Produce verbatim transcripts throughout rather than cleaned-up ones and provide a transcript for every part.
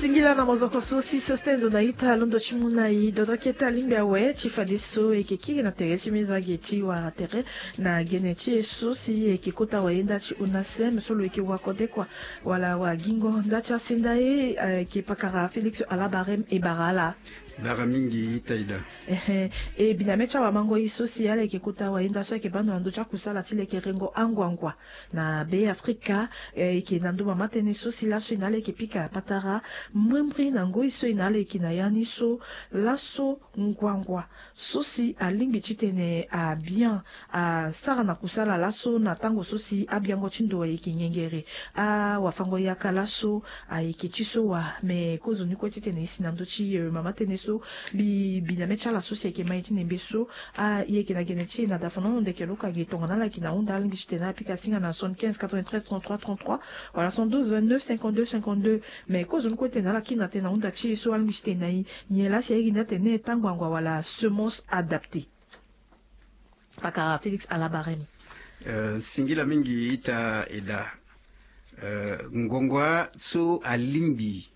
Singila na mozoko so si so si tene zo na ita londo ti mu na i dodo kete alingbi awe ti fadeso e yeke kiri na tere ti meza ge ti wara tere na gene ti e so si e yeke kota wayenda ti onasem so lo yeke wakodekua wala wagingo nda ti asenda e. E yeke pakara Félix Alabarem e bara ala. Bara mingi ita ida. Ehe. E biname ti awamango e so si ala yeke kota wayenda so ayeke bando na ndö ti akusala ti lekerengo anguangua na Be Afrika. E yeke na ndö mama tënë so si laso e na ala yeke pika patara mbrimbri na ngoi so e na ala yeke na ya ni so laso nguangua so si alingbi titene abian asara na kusala laso na tango so si abiango ti ndo ayeke ngengere. Awafango yaka laso ayeke ti so wa me kozoni kue titene e si na ndö ti mama tënë so mbi biname ti ala so si ayeke mai ti nembe so. A e yeke na gene ti e na dafonono ndeke lo ka gi tongana ala yeke na hunda alingbi titene apika singa na soixante-quinze quatre-vingt-treize trente-trois trente-trois wala soixante-douze vingt-neuf cinquante-deux cinquante-deux. Mais kozoni kue titene ala kiri na tënë na hunda ti e so alingbi titene na e nyen laa si airi ni atene tango angua wala semence adaptée. Pakara Félix Alabarem. Eh, singila mingi ita eda. Eh, ngongua so alingbi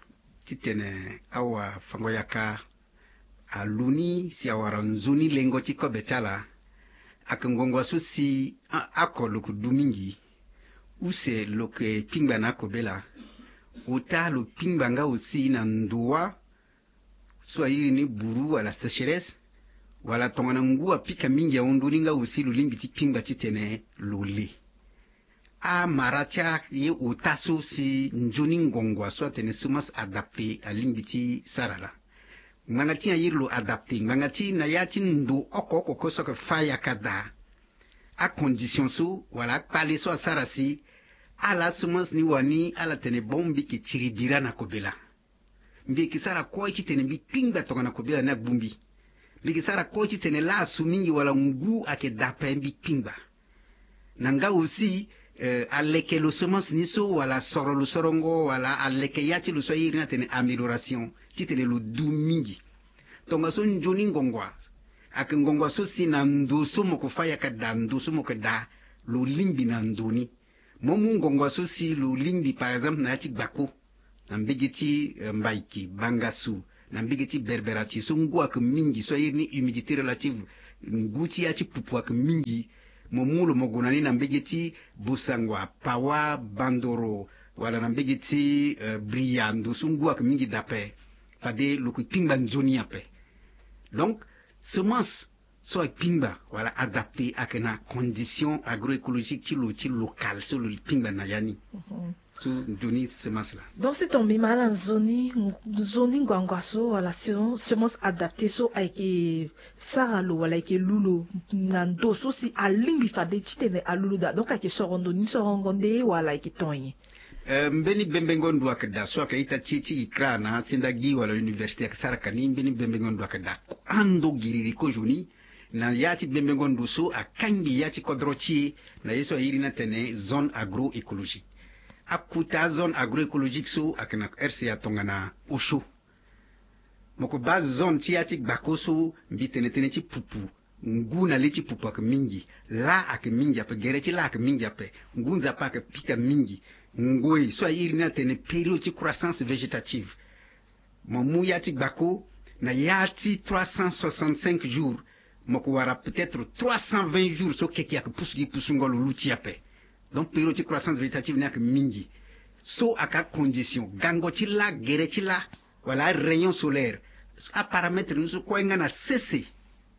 titene awafango yaka alu ni si awara nzoni lengo ti kobe ti ala. Ayeke ngongua so si a- oko lo yeke du mingi use lo yeke kpingba na akobela. Ota lo kpingba nga aussi na ndoa so airi ni buru wala sécheresse wala tongana ngu apika mingi ahon ndoni nga aussi lo lingbi ti kpingba titene lo le. Amara ti aye ota so si nzoni ngongua so atene semence adaptée alingbi ti sara laa. Ngbanga ti airi lo adapté ngbanga ti na ya ti ndo oko oko kue so ayeke fa yaka daa. Acondition so wala akpale so asara si ala semence ni wani ala tene bon mbi yeke tiri bira na kobela. Mbi yeke sara kue titene mbi kpingba tongana kobela ni agbu mbi. Mbi yeke sara kue titene laa asu mingi wala ngu ayeke daa ape mbi kpingba. Na nga aussi, eh, aleke lo semence ni so wala asoro lo sorongo wala aleke ya ti lo so airi ni atene amélioration titene lo du mingi. Tongaso nzoni ngongua ayeke ngongua so si na ndo so mo ko fa yaka daa ndo so mo yeke daa lo lingbi na ndo ni. Mo mu ngongua so si lo lingbi par exemple na ya ti gbako na mbege ti, eh, mbaiki bangasu na mbege ti berberati so ngu ayeke mingi so airi ni humidité relative ngu ti ya ti pupu ayeke mingi. Mo mu lo mo gue na ni na mbege ti bosangua pawa bandoro wala na mbege ti, eh, bria ndo so ngu ayeke mingi daa ape. Fade lo yeke kpingba nzoni ape. Donc semence so akpingba wala adapté ayeke na condition agroécologique ti lo ti local so lo kpingba na ya ni. So nzoni semence laa. Donc si tongana mbi ma ala nzoni nzoni nguangua so wala semence adapté so ayeke sara lo wala ayeke lu lo na ndo so si alingbi fade titene alu lo daa donc ayeke soro ndo ni sorongo nde wala ayeke ton nyen? Eh, mbeni bembengo ndo ayeke daa so ayeke ita ti ti ikra na asenda gi wala université ayeke sara ka ni mbeni bembengo ndo ayeke daa. Ando giriri kozoni na ya ti bembengo ndo so akangbi ya ti kodro ti e na ye so airi ni atene zone agroécologique. Akuta zone agroécologique so ayeke na R C A tongana osio. Mo ko baa zone ti ya ti gbako so mbi tene tënë ti pupu. Ngu na le ti pupu ayeke mingi. Laa ayeke mingi ape gere ti laa ayeke mingi ape. Ngu nzapa ayeke pika mingi. Ngoi so airi ni atene période ti croissance végétative. Mo mu ya ti gbako na ya ti trois cent soixante-cinq jours. Mo ko wara peut-être trois cent vingt jours so keke ayeke pusu gi pusungo lo luti ape. Donc période ti croissance végétative ni ayeke mingi. So ayeke acondition gango ti laa gere ti laa wala arayon solaire. Aparametre ni so kue nga na sese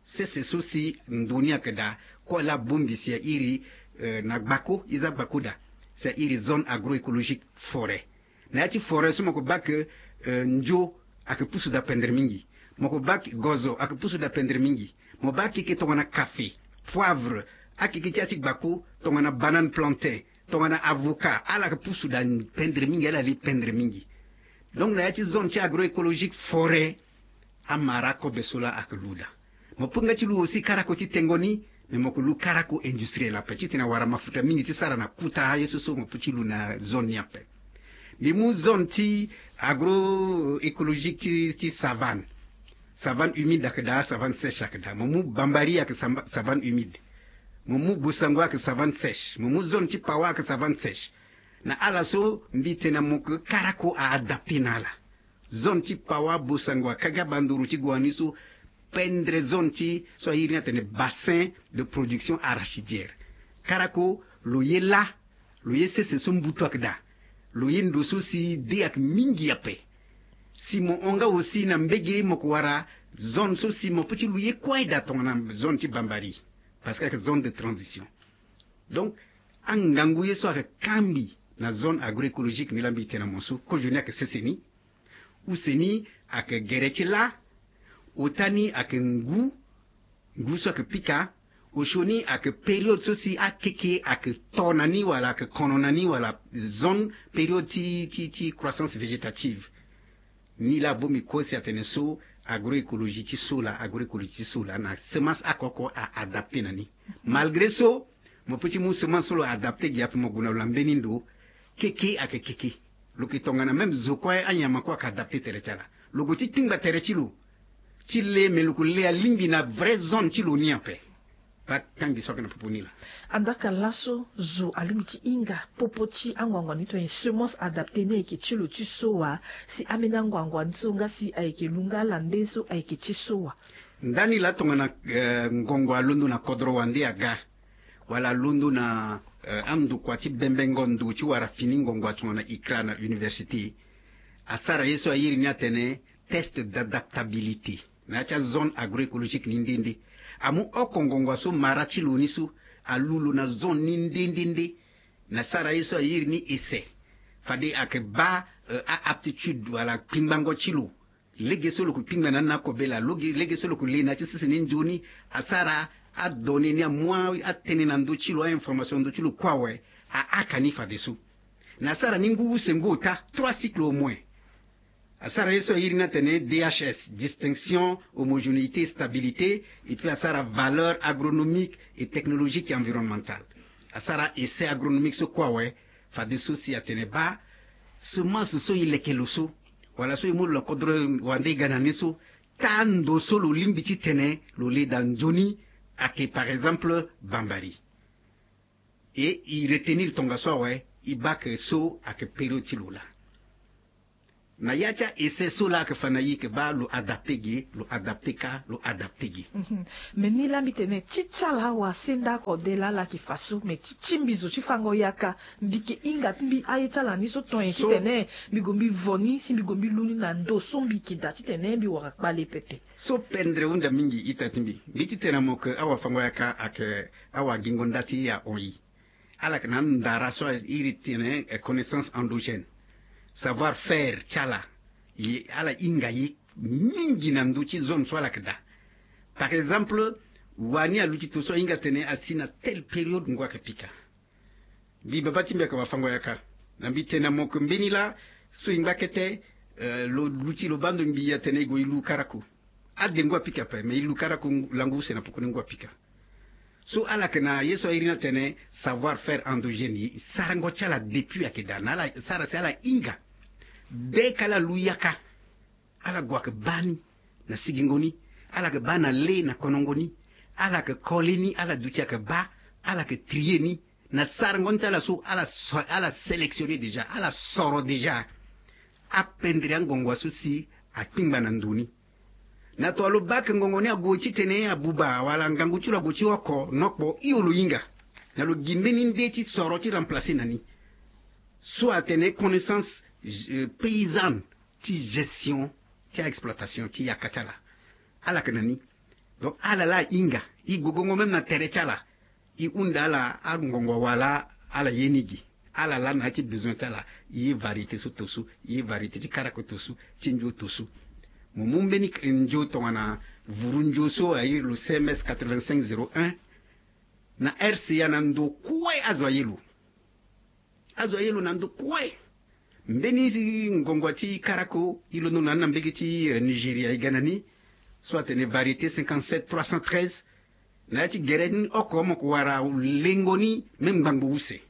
sese so si ndo ni ayeke daa. Kue laa abongbi si airi, eh, na gbako e za gbako daa. Si airi zone agroécologique forêt. Na ya ti forêt so mo ko baa ke, eh, ndio ayeke pusu daa pendre mingi. Mo ko baa ke gozo ayeke pusu daa pendre mingi. Mo baa keke tongana café, poivre, akeke ti ya ti gbako tongana banane plantain, tongana avocat ala yeke pusu daa pendre mingi ala li pendre mingi. Donc na ya ti zone ti agroécologique forêt amara kobe so laa ayeke lu daa. Mo peut nga ti lu aussi karako ti tengo ni. Mais mo yeke lu karako industriel ape titene awara mafuta mingi ti sara na kuta aye so so mo peut ti lu na zone ni ape. Mbi mu zone ti agroécologique ti, ti savane. Savane humide ayeke daa, savane sèche ayeke daa. Mo mu bambari ayeke savane humide. Mo mu bosango ayeke savane sèche. Mo mu zone ti pawa ayeke savane sèche. Na ala so mbi tene na mo ke karako a adapté na ala. Zone ti Pawa, Bossangoa, Kaga, Bandoro ti Goani so, pendre zone ti so a iri ni atene bassin de production arachidière. Karako, lo ye lâ, lo ye sese so mbutu ayeke daa. Lo ye ndo so si dé ayeke mingi ape. Si mo hon nga aussi na mbege, mo yeke wara zone so si mo peut ti lu ye kue daa tongana zone ti Bambari. Parce que ayeke zone de transition. Donc, angangu ye so ayeke kambi na zone agroécologique ni laa mbi tene na mo so, kozo ni ayeke sese ni. Use ni ayeke gere ti lâ. Ota ni ayeke ngu, ngu so ayeke pika. Osio ni ayeke période so si akeke ayeke to na ni wala ayeke kono na ni wala zone période ti, ti, ti croissance végétative. Ni laa bongbi kue si atene so agroécologie ti so laa, agroécologie ti so laa na semence oko oko a adapté na ni. Malgré so, mo peut ti mu semence so lo adapté gi ape, mo gue na lo na mbeni ndo, keke ayeke keke. Lo yeke tongana même zo kue, anyama kue ayeke adapté tere ti ala. Lo gue ti kpingba tere ti lo ti le, me lo yeke le alingbi na vrai zone ti lo ni ape. Baa kangbi so ayeke na popo ni laa. Andaa ka laso zo alingbi ti hinga popo ti anguangua ni tongana semence adapté ni ayeke ti lo ti so wa, si ambeni anguangua ni so nga si ayeke lu nga ala nde so ayeke ti so wa. Ndani laa tongana, eh, ngongo alondo na kodro wande aga, wala alondo na, eh, andokua ti bembengo ndo ti wara fini ngongo tongana ICRA na université, asara ye so a iri ni atene test d'adaptabilité na ya ti azone agroécologique ni nde nde. Amu oko ngongo so mara ti lo ni so alu lo na zone ni nde nde nde. Na sara ye so a iri ni essai. Fade ayeke baa, eh, a-aptitude wala kpingbango ti lo. Lege so lo yeke kpingba na ni na akobela, loge, lege so lo yeke le na ya ti sese ni nzoni. Asara adonnée ni, amu atënë na ndö ti lo, a-information na ndö ti lo kue awe, ahaka ni fadeso. Na asara ni ngu use ngu ota, trois cycles au moins. Asara ye so a iri ni atene D H S, distinction, homogénéité, stabilité, et puis asara valeur agronomique et technologique et environnementale. Asara essai agronomique so kue awe, fadeso si atene baa semence so e leke lo so, wala so e mu lo na kodro wande e ga na ni so, taa ndo so lo lingbi titene lo le daa nzoni, ayeke par exemple Bambari. E e retenir tongaso awe, e baa ke so ayeke période ti lo laa. Na ya ti a-essai so laa ayeke fa na e ke baa lo adapté ge, lo adapté ka, lo adapté ge. Mhm. Mais ni laa mbi tene ti ti ala awa senda oko de laa ala yeke fa so, mais ti ti mbi zo ti fango yaka, mbi yeke hinga ti mbi aye ti ala ni so ton nyen titene mbi gue mbi vo ni, si mbi gue mbi lu ni na ndo so mbi yeke daa titene mbi wara kpale pepe. So pendre hunda mingi ita ti mbi. Mbi ti tene na mo ke awafango yaka ayeke awagingo nda ti e ahon e. Ala yeke na andara so a iri tene, eh, connaissance endogène. Savoir faire ti ala. Ye, ala hinga ye mingi na ndö ti zone so ala yeke daa. Par exemple, wani aluti to so ahinga tene asi na telle période ngu ayeke pika. Mbi baba ti mbi ayeke wafango yaka. Na mbi tene na mo ke mbeni laa so e ngba kete, eh, lo luti lo baa ndo mbi atene e gue e lu karako. Ade ngu apika ape, me e lu karako ngu, langu use na pokoni ngu apika. So ala yeke na ye so a iri ni atene savoir faire endogène, e sarango ti ala depuis ayeke daa na ala sara si ala hinga. Dès que ala lu yaka, ala gue ayeke baa ni na sigingo ni, ala yeke baa na le na konongo ni, ala yeke kole ni, ala duti ayeke baa, ala yeke trier ni, na sarango ni ti ala so ala so, ala sélectionner déjà, ala soro déjà apendre angongo so si akpingba na ndo ni. Na tongana lo baa ke ngongo ni ague titene abuba wala ngangu ti lo ague ti oko nokpo, hio lo hinga. Na lo gi mbeni nde ti soro ti remplacer na ni. So atene connaissance, euh, paysanne ti gestion ti a-exploitation ti yaka ti ala. Ala yeke na ni. Donc ala laa ahinga. E gue gongo même na tere ti ala. E hunda ala angongo wala ala ye ni gi. Ala laa na ya ti besoin ti ala, e ye variété so to so, e ye variété ti karako to so, ti nzo to so. Mo mu mbeni nzo tongana vuru nzo so a iri lo C M S quatre-vingt-cinq zéro un. Na R C A na ndo kue azo aye lo. Azo aye lo na ndo kue. Mbeni ngongo ti karako e londo na ni na mbege ti, eh, Nigeria e ga na ni. So atene variété cinquante-sept trois cent treize. Na ya ti gere ni oko mo ko wara lengo ni même ngbangbo use.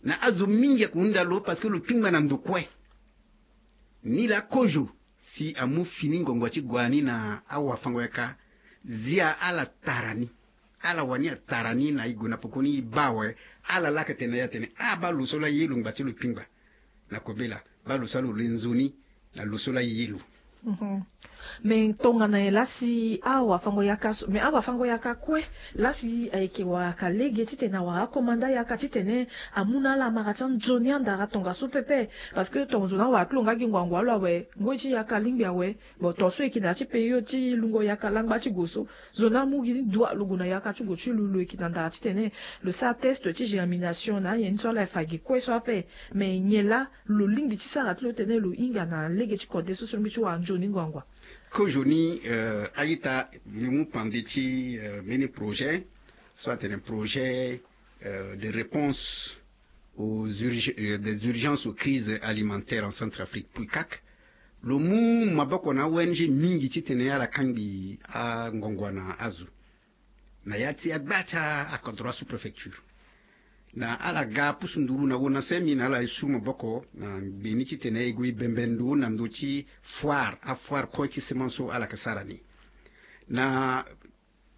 Na azo mingi ako hunda lo parce que lo kpingba na ndo kue. Ni laa kozo si amu fini ngongo ti gue ni na awafango yaka, zia ala tara ni. Ala wani atara ni na e gue na pokoni e baa awe. Ala laa ayeke tene na e atene, ah, baa lo so laa ye lo ngba ti lo kpingba. Na kobela, baa lo so laa lo le nzoni. na lo so laa e ye lo. Mais tongana nyen laa si awafango-yaka so, mais awafango-yaka kue laa si ayeke wara ka lege titene awara akomanda yaka titene amu na ala amara ti anzoni andara tongaso pepe. Parce que tongaso na awara ti lo nga gi ngbangbo alo awe ngoi ti yaka alingbi awe. Bon, tongaso e yeke na ya ti période ti lungo yaka langba ti gue so. Zo na amu gi ni dua lo gue na yaka ti gue ti lo, lo yeke na ndara titene lo sara test ti germination na anyen ni so ala e fa gi kue so ape. Mais nyen laa lo lingbi ti sara ti lo tene lo hinga na lege ti kode so so lingbi ti wara nzoni ngbangbo? Kozoni, euh, a-ita, mbi mu pande ti, euh, mbeni projet so atene projet, euh, de réponse aux urge- euh, des urgences aux crises alimentaires en Centrafrique, PRUCAC. Lo mu maboko na a-O N G mingi titene ala kangbi angongo na azo na ya ti agba ti akodro, asous-préfecture. Na ala ga pusu nduru na ONACEM, na ala e su maboko na gbe ni titene e gue e bembe ndo na ndö ti foire, afoire kue ti semence so ala yeke sara ni. Na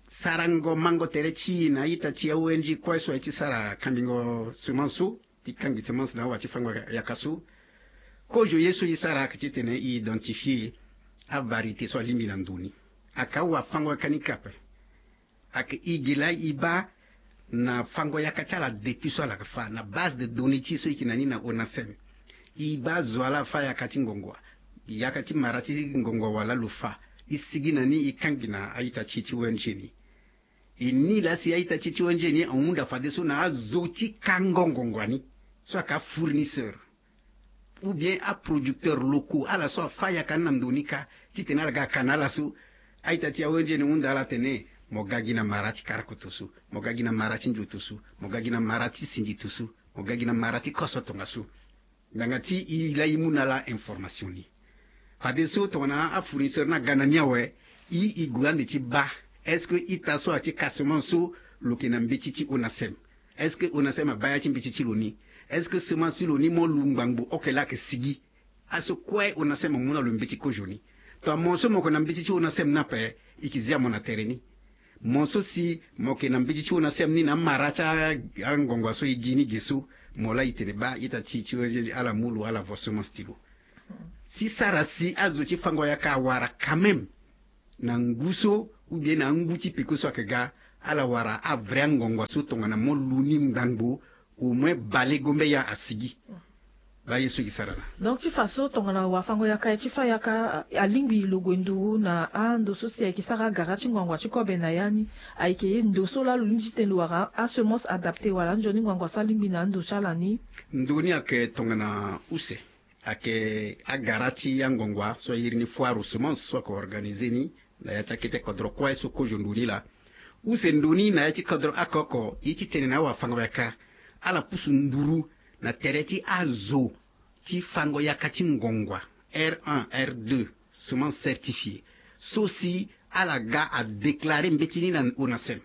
sarango mango tere ti e na a-ita ti a-O N G kue so aye ti sara kambingo semence so, ti kangbi semence na awa ti fango yaka so. Kozo ye so e sara ayeke titene e identifier avariété so alingbi na ndo ni. Ayeke awafango-yaka ni kue ape. Ayeke e gi laa e baa na fango-yaka ti ala depuis so ala yeke fâ na base de données ti e so e yeke na ni na ONACEM. E baa zo wa laa afâ yaka ti ngongo, yaka ti mara ti ngongo wa laa lo fâ. E sigi na ni, e kangbi na a-ita ti e ti O N G ni. E ni laa si a-ita ti e ti O N G ni ahunda fadeso na azo ti kango ngongo wa ni so ayeke afournisseur ou bien aproducteurs locaux, ala so afâ yaka ni na ndo ni kâ, titene ala ga aka na ala so. A-ita ti a-O N G ni ahunda ala atene, mo ga gi na mara ti karakoto so, mo ga gi na mara ti nzoto so, mo ga gi na mara ti sindito so, mo ga gi na mara ti koso tongaso. Ngbanga ti e laa e mu na ala information ni. Fadeso tongana afournisseur ni aga na ni awe, e, e gue ande ti baa est-ce que ita so aye ti ka semence so lo yeke na mbeti ti ONACEM? Est-ce que ONACEM abaa ya ti mbeti ti lo ni? Est-ce que semence ti lo ni mo lu ngbangbo oke laa ayeke sigi? Aso kue ONACEM amu na lo mbeti kozo ni. Tongana mo so mo yeke na mbeti ti ONACEM ni ape, e yeke zia mo na tere ni. Mo so si mo yeke na mbeti ti ONACEM ni na amara ti a- angongo so e gi ni ge so, mo laa e tene baa ita ti e ti O N G ala mu lo, ala vo semence ti lo. Ti sara si azo ti fango yaka awara quand même na ngu so ou bien na angu ti peko so ayeke ga, ala wara avrai angongo so tongana mo lu ni ngbangbo, au moins bale gombe ya asigi. Laa ye so e sara laa. Donc ti fa so tongana wafango-yaka aye ti fâ yaka, alingbi lo gue nduru na ando so si ayeke sara agara ti ngbangbo ti kobe na ya ni, ayeke ye ndo so laa lo lingbi ti tene lo wara asemence adaptée wala anzoni ngbangbo so alingbi na ando ti ala ni? Ndo ni ayeke tongana use. Ayeke agara ti angongo so a iri ni foire aux semences so ayeke organisé ni na ya ti akete kodro kue so kozo ndo ni laa. Use ndo ni na ya ti kodro oko oko, ye ti tene na awafango-yaka ala pusu nduru na tere ti azo ti fango yaka ti ngongo, R un, R deux, semence certifiée, so si ala ga adéclaré mbeti ni na ONACEM.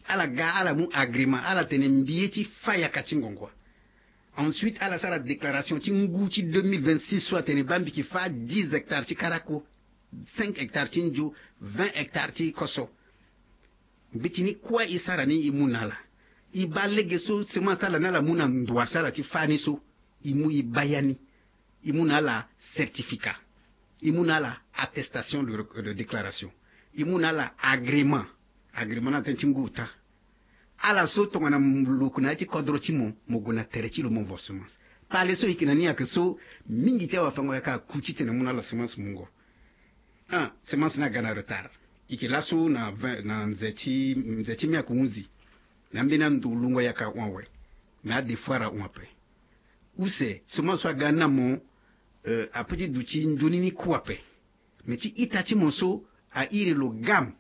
Ala ga ala mu agrément, ala tene mbi ye ti fâ yaka ti ngongo. Ensuite ala sara déclaration ti ngu ti deux mille vingt-six so atene baa mbi yeke fâ dix hectares ti karako, cinq hectares ti nzo, vingt hectares ti koso. Mbeti ni kue e sara ni e mu na ala. E baa lege so semence ti ala ni ala mu na ndoa so ala ti fâ ni so, e mu e baa ya ni. E mu na ala certificat. E mu na ala attestation de, de déclaration. E mu na ala agrément. Agrément ni atene ti ngu ota. Ala so tongana lo gue na ya ti kodro ti mo, mo gue na tere ti lo mo vo semence. Pale so e yeke na ni ayeke so, mingi ti awafango-yaka aku titene amu na ala semence mungo. Un, semence ni aga na retard. E yeke laso na vingt, na nze ti, nze ti mai ayeke hunzi. Na ambeni ando lungo yaka ahon awe. Me adefoire ahon ape. Use semence so aga ni na mo, euh, apeut ti duti nzoni ni ku ape. Me ti ita ti mo so a iri lo GAM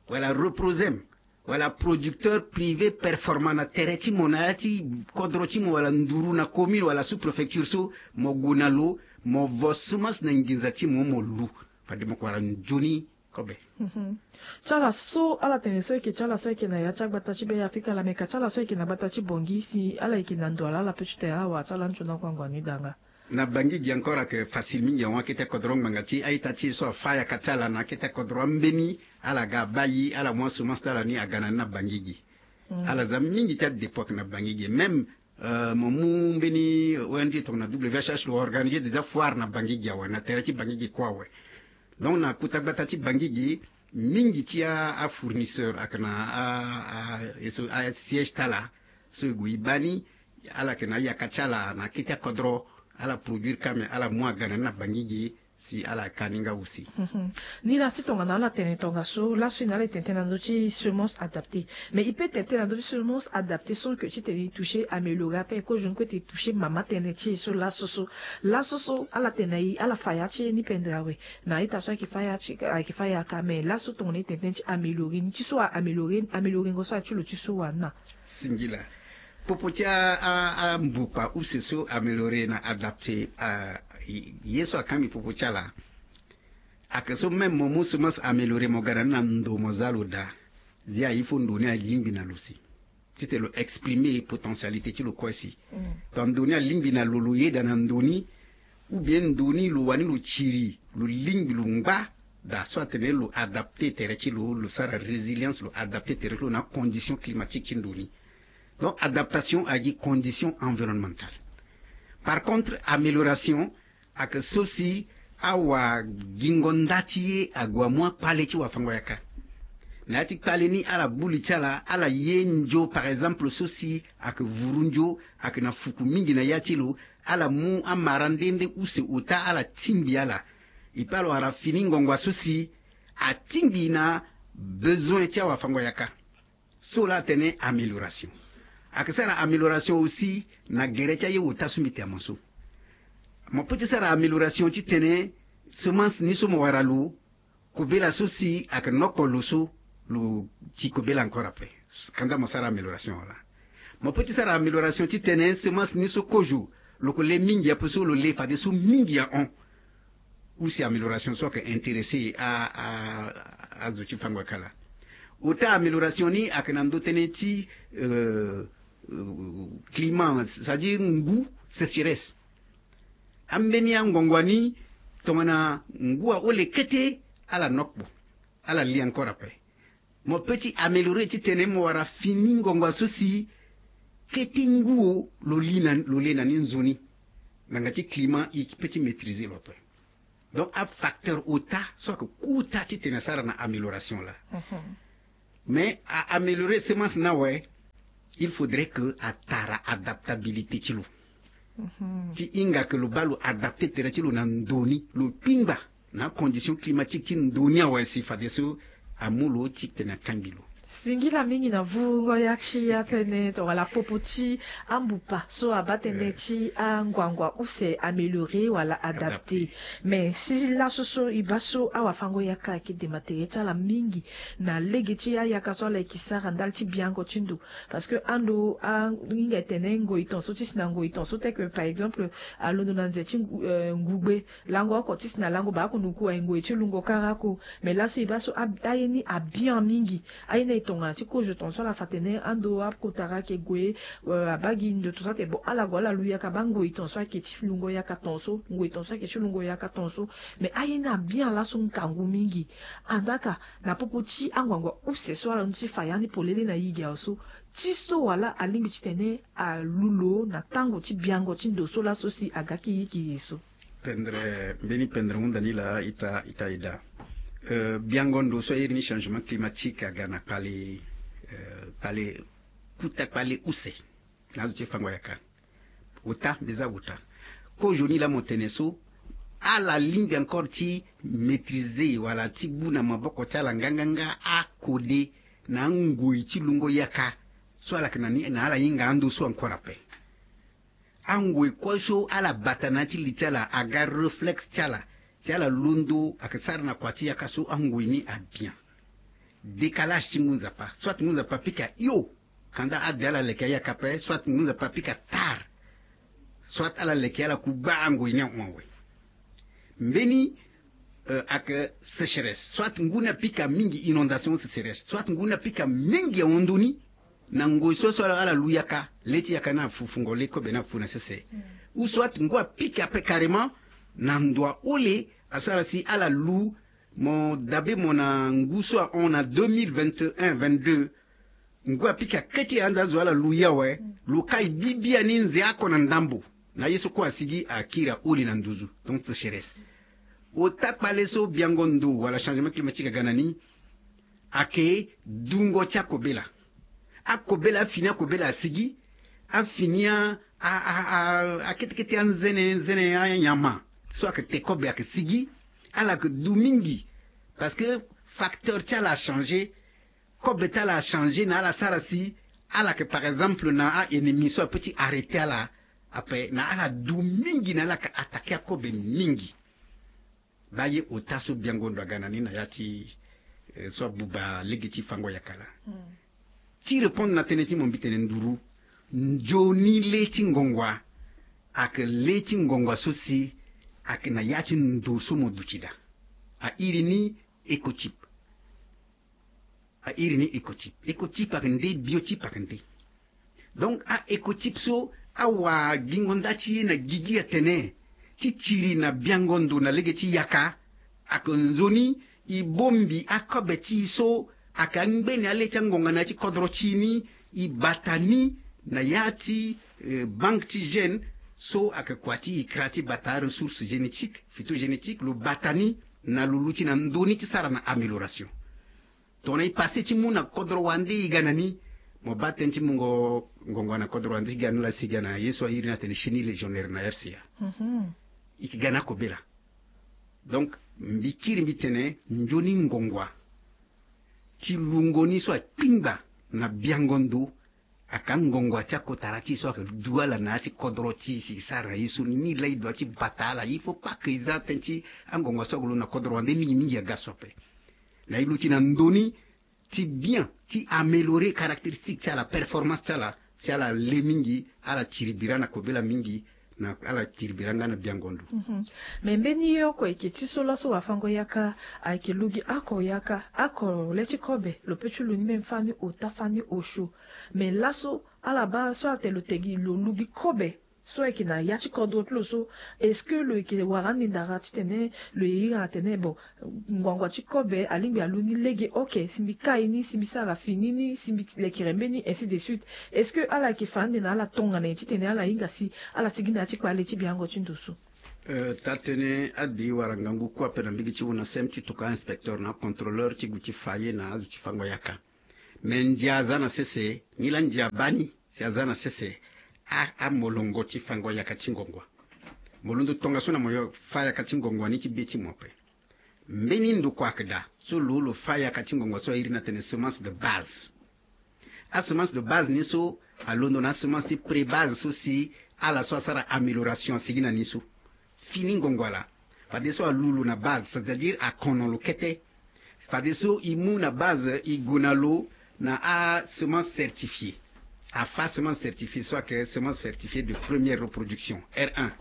wala Reprosem wala producteur privé performant na tere ti mo, na ya ti kodro ti mo wala nduru na commune wala sous-préfecture so, mo gue na lo, mo vo semence na nginza ti mo, mo lu. Fade mo yeke wara nzoni kobe. Mhm. Ti ala so ala tene so e yeke ti ala so e yeke na ya ti agbata ti Be Afrika laa, me ka ti ala so e yeke na gbata ti Bangui, si ala yeke na ndo ala, ala peut ti tene ala wara ti ala nzoni ngbangbo ni danga. Na Bangui gi encore ayeke facile mingi ahon. Akete kodro ngbanga ti a-ita ti e so afâ yaka ti ala na akete kodro ambeni, ala ga abaa e, ala mu asemence ti ala ni aga na ni na Bangui gi. Ala za mingi ti adépôt ayeke na Bangui gi. Même Euh, mo mu mbeni O N G tongana W H H lo organiser déjà foire na Bangigi awe, na tere ti Bangigi kue awe. Donc na kota gbata ti Bangigi, mingi ti a, a fournisseur ayeke na a, a, e so, a siège ti ala so e gue e baa ni, ala yeke na ayaka ti ala na kete akodro, ala produire kâ me ala mu aga na ni na Bangigi, si ala ka ni nga aussi. Ni laa si tongana ala tene tongaso, laso e na ala e tene tënë na ndö ti semence adaptée. Mais e peut tene tënë na ndö ti semence adaptée sans que titene e toucher amélioré ape, kozo ni kue ete e toucher mama tënë ti e so laso so. Laso so ala tene na e ala fa ya ti e ni pendere awe. Na ita so ayeke fa ya ti, ayeke fa ya ka, mais laso tongana e tene tënë ti amélioré ni, ti so a amélioré, améliorengo so aye ti lo ti so wani na. Singila. Popo ti a, a, ambupa use so amélioré na adapté, a, ye so akangbi popo ti ala. Ayeke so même mo mu semence amélioré mo ga na ni na ndo mo za lo daa. Zia il faut ndo ni alingbi na lo si. Titene lo exprimer potentialité ti lo kue si. Donc ndo ni alingbi na lo, lo yeda na ndo ni, ou bien ndo ni lo wani lo tiri, lo lingbi lo ngba daa so atene lo adapté tere ti lo, lo sara résilience, lo adapté tere ti lo na acondition climatique ti ndo ni. Donc adaptation agi condition environnementale. Par contre amélioration ayeke so si awagingo nda ti e ague amu akpale ti wafango-yaka. Na ya ti kpale ni ala bu li ti ala, ala ye nzo par exemple so si ayeke vuru nzo, ayeke na fuku mingi na ya ti lo, ala mu amara nde nde use ota ala tingbi ala. E pe ala wara fini ngongo so si atingbi na besoin ti awafango-yaka. So laa atene amélioration. Ayeke sara amélioration aussi na gere ti aye ota so mbi tene mo so. Mo peut ti sara amélioration titene semence ni so mo wara lo, kobela so si ayeke nokpo lo so, lo ti kobela encore ape. Kanda mo sara amélioration wala. Mo peut ti sara amélioration titene semence ni so kozo lo ko le mingi ape so lo le fadeso mingi ahon. Ou si amélioration so ayeke intéressé a, a, azo ti fango-yaka laa. Ota amélioration ni ayeke na ndö tënë ti, euh, euh, climat, c'est-à-dire ngu, sécheresse. Ambeni angongo ni tongana ngu ahole kete, ala nokpo, ala li encore ape. Mo peut ti améliorer titene mo wara fini ngongo so si kete ngu lo li na, lo le na ni nzoni. Ngbanga ti climat e peut ti maîtriser lo ape. Donc afacteur ota so ayeke kota titene asara na amélioration laa. Mais a améliorer semence ni awe, il faudrait que atara adaptabilité ti lo. Ti hinga ke lo baa lo adapté tere ti lo na ndo ni, lo kpingba na acondition climatique ti ndo ni awe si fadeso amu lo titene akangbi lo. Singila mingi na vungo ya ti atene tongana popo ti ambupa so abaa tënë ti anguangu use amélioré wala adapté. Mais si laso so e baa so awafango-yaka ayeke dema tere ti ala mingi na lege ti ayaka so ala yeke sara ndali ti biango ti ndo. Parce que ando ahinga e tene ngoi tongaso ti si na ngoi tongaso, tel que par exemple alondo na nze ti ngu, euh, ngugbe lango oko ti si na lango baa oko nduku aye ngoi ti lungo kara oko. Mais laso e baa so a, aye ni abian mingi. Aye ni aye tongana ti kozo tongaso ala fa tene ando akotara ayeke gue, euh, abaa gi ndo tongaso atene bon ala gue ala lu yaka baa ngoi tongaso ayeke ti lungo yaka tongaso, ngoi tongaso ayeke ti lungo yaka tongaso. Mais aye ni abian laso ngangu mingi. Andaa ka na popo ti anguangu use so ala londo ti fa ya ni polele na yigi awe so, ti so wala alingbi titene alu lo na tango ti biango ti ndo so laso si aga kiri kiri so. Pendere, mbeni pendere hunda ni laa ita, ita ida. Euh, biango ndo so airi ni changement climatique aga na kpale, euh, kpale, kota kpale use na azo ti fango-yaka. Ota, mbi za ota. Kozoni laa mo tene so ala lingbi encore ti maîtriser wala ti gbu na maboko ti ala nganganga akode na angoi ti lungo yaka so ala yeke na ni na ala hinga ando so encore ape. Angoi kue so ala bata na ya ti li ti ala aga réflexe ti ala si ala londo ayeke sara na kua ti yaka so angoi ni abian. Décalage ti ngu nzapa, soit ngu nzapa apika hio, kanda ade ala leke ayaka ape, soit ngu nzapa apika tard, soit ala leke ala ku gbaa ngoi ni ahon awe. Mbeni, euh, ayeke sécheresse, soit ngu ni apika mingi, inondation, sécheresse, soit ngu ni apika mingi ahon ndoni na ngoi so so ala, ala lu yaka, le ti yaka ni afu, fungo le kobe ni afu na sese. Ou soit ngu apika ape carrément na ndo ahole, asara si ala lu, mo dabe mo na ngu so ahon na deux mille vingt et un vingt-deux, Ngu apika kete anda zo ala lu ye awe. Lo kai bibi ani nze oko na ndambo. Na ye so kue asigi akiri aholi na nduzu, donc sécheresse. Ota kpale so biango ndo wala changement climatique aga na ni, ake dungo ti akobela. Akobela, afini akobela asigi, afini a, a, a, a, akete kete anzene, nzene anyama so ake te kobe ake sigi, ala ake du mingi. Parce que facteur ti ala achangé, kobe ti ala achangé, na ala sara si ala yeke, par exemple, na a-ennemi so ape ti arrêter ala, ape na ala du mingi, na ala yeke attaquer akobe mingi. Baa ye ota so biango ndo aga na ni na ya ti, eh, so abuba lege ti fango yaka laa. Ti répondre na tënë ti mo, mbi tene nduru, nzoni le ti ngongua ayeke le ti ngongua so si ayeke na ya ti ndo so mo duti daa. A iri ni écochip. A iri ni écochip. Écochip ayeke nde, biochip ayeke nde. Donc a-écochip so awagingo nda ti ye na gigi atene ti tiri na biango ndo na lege ti yaka, ayeke nzoni e bongbi akobe ti e so ayeke angbeni ale ti angonga na ya ti kodro ti e ni, e bata ni na ya ti, eh, banque ti gènes so ayeke kua ti e kra ti bata aressource génétique, phytogénétique, lo bata ni na lo luti na ndö ni ti sara na amélioration. Tongana e passé ti mu na kodro wande e ga na ni, mo baa tënë ti mungo ngongo na kodro wande ti ga na ni laa si e ga na ye so a iri ni atene chenille légionnaire na R C A. E yeke ga na akobela. Donc mbi kiri mbi tene nzoni ngongua ti lungo ni so akpingba na biango ndo, ayeke angongua ti akotara ti e so ayeke du ala na ya ti kodro ti e si e sara na ye so ni. Ni laa e dua ti bata ala. Il faut pas que e za tënë ti angongua so ayeke lo na kodro wande mingi mingi aga so ape. Na e luti na ndö ni ti bien ti améliorer caractéristique ti ala, performance ti ala, si ala le mingi, ala tiri bira na kobela mingi, na ala tiri bira nga na biango ndo. Mais mbeni ye oko ayeke ti so laso wafango yaka ayeke lu gi oko yaka, oko le ti kobe lo peut ti lu ni même fani ota fani osio. Mais laso ala baa so atene lo te gi lo lu gi kobe so ayeke na ya ti kodro ti lo so, est-ce que lo yeke wara ande ndara titene lo ye iri atene bon, ngbangua ti kobe alingbi alu ni lege? Ok, si mbi kai ni, si mbi sara fini ni, si mbi lekere mbeni, ainsi de suite. Est-ce que ala yeke fa ande na ala tongana nyen titene ala hinga si ala sigi na ya ti kpale ti biango ti ndo so? Euh, taa-tënë ade wara ngangu kue ape na mbage ti UNASM ti tokua inspecteur na acontrôleur ti gue ti fa ye na azo ti fango yaka. Me ndia aza na sese, nilaa ndia abaa ni si aza na sese, a, amolongo ti fango yaka ti ngongo. Mo londo tongaso na mo yo fa yaka ti ngongo ni ti be ti mo ape. Mbeni ndokua ayeke daa so lo, lo fa yaka ti ngongo so a iri ni atene semence de base. Asemence de base ni so alondo na asemence ti pré-base so si ala so asara amélioration asigi na ni so. Fini ngongo ala, fadeso alu lo na base, c'est-à-dire akono lo kete. Fadeso e mu na base e gue na lo na asemence certifiée. Afa semence certifiée so ayeke semence certifiée de première reproduction, R un.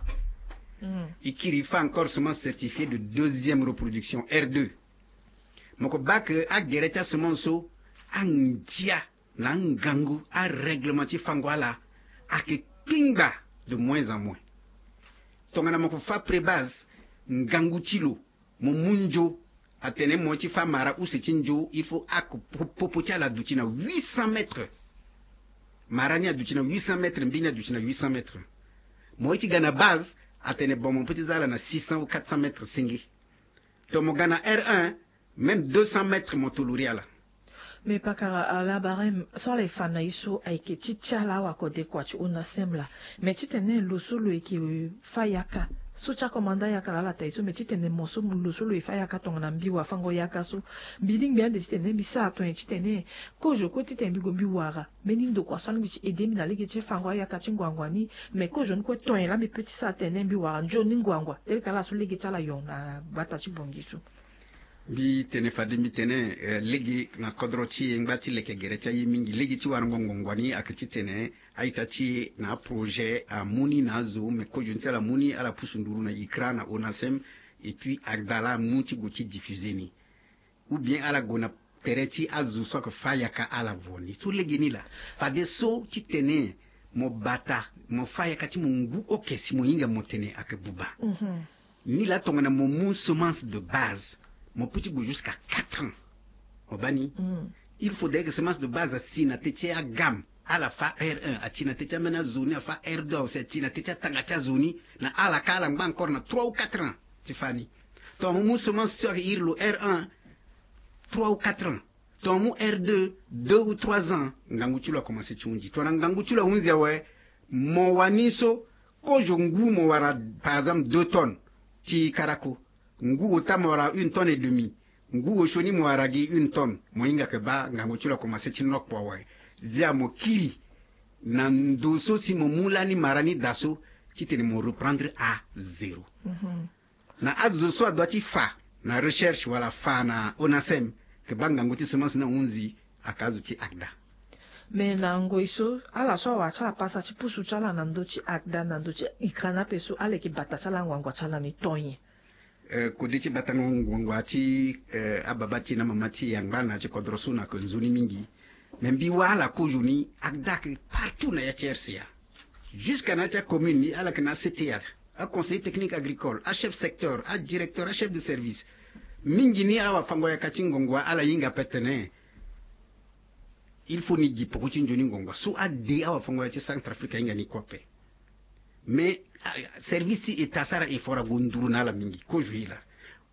E kiri e fa encore semence certifiée de deuxième reproduction, R deux. Mo ko baa ke agere ti asemence so, andia na angangu, arèglement ti fango ala ayeke kpingba de moins en moins. Tongana mo ko fa pré-base, ngangu ti lo, mo mu nzo, atene mo ye ti fa mara use ti nzo, il faut ake po-, popo ti ala aduti na huit cents mètres. Mara ni aduti na huit cents mètres, mbi ni aduti na huit cents mètres. Mo ye ti ga na base, atene bon, mo peut ti za ala na six cents ou quatre cents mètres senge. Donc mo ga na R un, même deux cents mètres mo tolori ala. Mais pakara, ala barème so ala ye fa na ye so ayeke ti ti ala awa kodekua ti UNASM laa. Mais titene lo so lo yeke fa yaka so ti akomanda yaka laa ala ta ye so, mais titene mo so lo so lo ye fa yaka tongana mbi wafango yaka so, mbi lingbi ande titene mbi sara tongana nyen titene kozo kue titene mbi gue mbi wara mbeni ndokua so alingbi ti aidé mbi na lege ti fango ayaka ti ngbangua ni. Mais kozo ni kue tongana nyen laa mbi peut ti sara tene mbi wara nzoni ngbangua tel que ala so lege ti ala yo na gbata ti Bangui so. Mbi tene fade mbi tene, eh, lege na kodro ti e ngba ti leke gere ti aye mingi. Lege ti warango ngbangua ni ayeke titene a-ita ti e na aprojet amu ni na azo, me kozo ni ti ala mu ni, ala pusu nduru na ICRA na UNASM, et puis ACDALA amu ti gue ti diffuser ni. Ou bien ala gue na tere ti azo so ayeke fa yaka ala vo ni. So lege ni laa, fadeso titene mo bata mo fa yaka ti mo ngu oke si mo hinga mo tene ayeke buba. Ni laa tongana mo mu semence de base, mo peut ti gue jusqu'à quatre ans. Mo baa ni? Il faudrait que semence de base asi na teti agam. Ala fa R un, ati na teti amena zoni afa R deux aussi, ati na teti atanga ti azoni. Na ala ka ala ngba encore na trois ou quatre ans ti fani. Ton mu semence ti iri lo R un, trois ou quatre ans. Ton mu R deux, deux ou trois ans. Ngangu ti lo akomanse ti hunzi. Ton na ngangu ti lo ahunzi awe. Mo wani so kozo ngu mo wara par exemple deux tonnes ti karako. Ngu ota mo wara une tonne et demi. Ngu osioni mo wara gi une tonne. Mo hinga ke ba ngangu ti lo akomanse ti nokpo awe. Zia mo kiri na ndo so si mo mu lani mara ni da so titene mo reprendre à zéro. Na azo so adua ti fa na recherche wala fa na onasem ke ba ngangu ti semence na hunzi aka azo ti agda. Me na ngoi so ala so awara ti ala pasa ti pusu ti ala na ndö ti agda na ndö ti ikrana ape so ala yeke bata ti ala anguangua ti ala ni to nyen? Kode ti batango nguangua ti ababa ti na mama ti yangba na ti kodro so na ke nzoni mingi. Me mbi wa ala kozo ni agda ke partout na ya ti rca. Jusqu'à na ya ti acommune ni ala ke na acta, aconseiller technique agricole, achef secteur, adirecteur, achef de service. Mingi ni awafango yaka ti nguangua ala hinga pe tene il faut ni gi poko ti nzoni nguangua so ade awafango yaka ti centre afrique ahinga ni kue ape. Mais service ti état asara effort ago nduru na ala mingi kozo ye laa.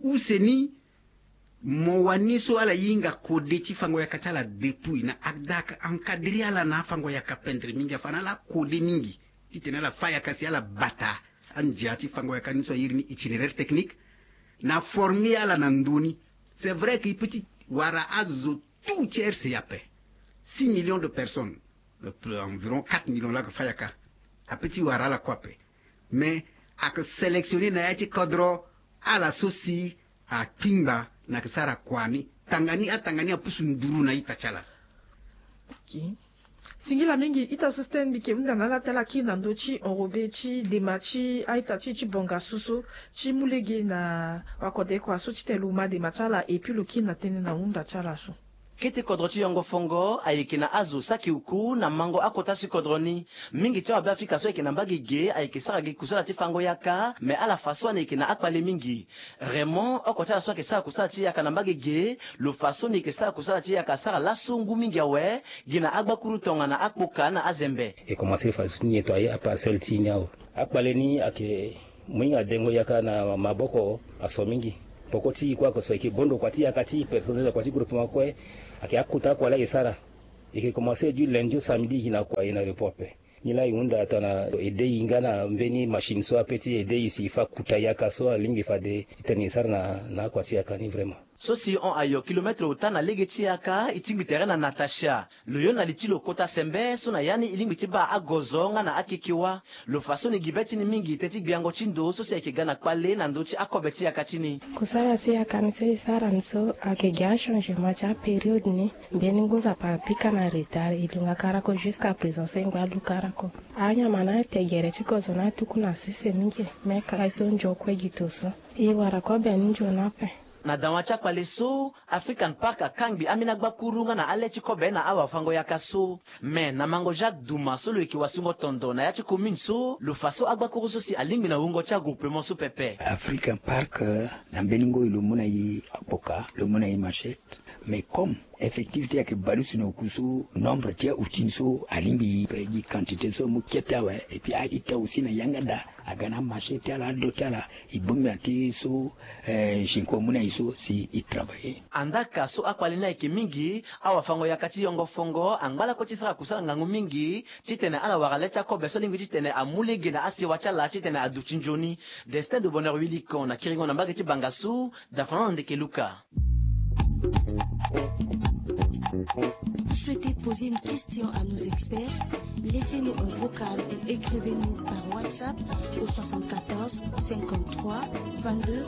Use ni mo wani so ala hinga kode ti fango yaka ti ala depuis na agda aka encadrer ala na afango yaka pendre mingi afa na ala akode mingi titene ala fa yaka si ala bata andia ti fango yaka ni so ayiri ni itinéraire technique. Na former ala na ndö ni. C'est vrai que i peut ti wara azo tout ti rca ape. Six millions de personnes, environ quatre millions laa ke fa yaka. Ape ti wara ala kue ape. Mais ake sélectionner na ya ti kodro ala so si akpingba na ke sara kua ni tanga ni atanga ni apusu nduru na ita ti ala. Singila mingi ita so sten mbi ke hunda na ala ti ala kiri na ndö ti enrobe ti dema ti a-ita ti e ti bonga so so ti mu lege na wakodekua so titene lo ma dema ti ala epui lo kiri na tënë na hunda ti ala so. Kete kodro ti yongo fongo ayeke na azo saki uku na mango akota si kodro ni. Mingi ti awabe afrika so ayeke na mbage ge ayeke sara gi kusala ti fango yaka me ala fa so ani yeke na akpale mingi. Raymond oko ti ala so ayeke sara kusala ti yaka na mbage ge lo fa so ni yeke sara kusala ti yaka asara laso ngu mingi awe. Gi na agbakuru tongana akpoka na azembe. E komanse fa zo ti nyen to aye aparcelle ti e ni awe. Akpale ni ayeke mo hinga dengo yaka na maboko aso mingi. Poko ti e kue ayeke so ayeke bondo kua ti yaka ti e personnel kua ti groupement kue. Ayeke akota akua laa e sara. E yeke komanse du lundi au samedi e na kua e na repos ape. Nilaa e hunda tongana e de e nga na mbeni machine so ape ti e de e si e fa kuta yaka so alingbi fade titene e sara na akua ti yaka ni vraiment. So si hon ayo kilometre ota na lege ti yaka e tingbi tere na natasha. Lo yo na li ti lo kota sembe so na ya ni e lingbi ti baa agozo nga na akeke wa. Lo fa so ni gi be ti ni mingi te ti gbiango ti ndo so si ayeke ga na kpale na ndö ti akobe ti yaka ti ni. Kusala ti yaka ni so e sara ni so ayeke gi achangement ti apériode ni. Mbeni ngu nzapa apika na retard e lunga karako jusqu'à présent so e ngba lu karako. Anyama na ate gere ti kozo na atuku na sese mingi. Me kara e so nzokue gi to so e wara kobe ni nzoni ape. Na dawa ti akpale so african park akangbi ambeni agbakuru nga na ale ti kobe na awafango yaka so. Me na mango jacques duma so lo yeke wasungo tondo na ya ti commune so lo fa so agbakuru so si alingbi na wungo ti agroupement so pepe. African park na mbeni ngoi lo mu na e akpoka lo mu na e machette. Mais comme effectif ti e ayeke baleuse na oku so nombre ti aoutil so alingbi e gi quantité so amu kete awe. Et puis a-ita aussi na yanga daa aga na amarché ti ala ado ti ala. E bongbi na ti so zinko amu na e so si e travailler. Andaka so akpale ni ayeke mingi awafango yaka ti yongo fongo angba lakue ti sara kusala ngangu mingi titene ala wara le ti akobe so alingbi titene amu lege na asewa ti ala titene aduti nzoni. Destin de bonheur wilikon na kiringo na mbage ti banga so. Dafana na ndeke luka. Vous souhaitez poser une question à nos experts? Laissez-nous un vocal ou écrivez-nous par WhatsApp au soixante-quatorze cinquante-trois vingt-deux